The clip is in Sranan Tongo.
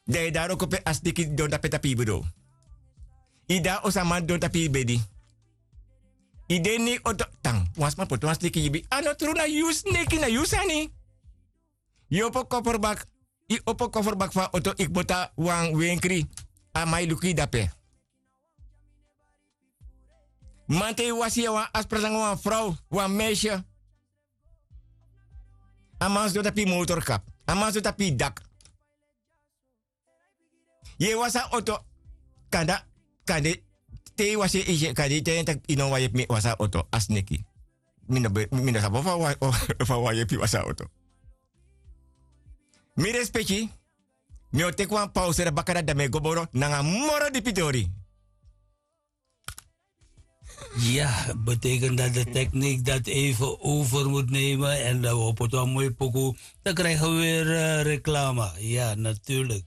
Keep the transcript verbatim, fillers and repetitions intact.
Dan yu de na wroko pe a sneki don tapu yu tapu yu bedon. Yu de na oso a man don tapu yu bedi. Yu de ini yu oto tan wan sma poti wan sneki gi yu bigi a no tru na yu sneki na yu sani. Yu opo koferbak yu opo koferbak fu a oto yu kmoto na wan wenkri. A man e luku yu dape. Man te yu wasi yu na wan aspra nanga wan frow wan meisye. A man sidon tapu yu motorkap. A man sidon tapu yu dak. Yu e wasi a oto. Kanda kande te yu wasi en isi en kande yu taigi en tak' yu no wani yepi mi e wasi a oto a sneki. Mi no sabi ofu a wani yepi wasi a oto. Mi respeki. Mi o teki wan pause dan baka dati dan mi e go boro nanga moro dipi tori. Ya, betekent dat de techniek dat even over moet nemen en dat we op het wan mooi pokoe dan krijgen we weer reclame. Ja, natuurlijk.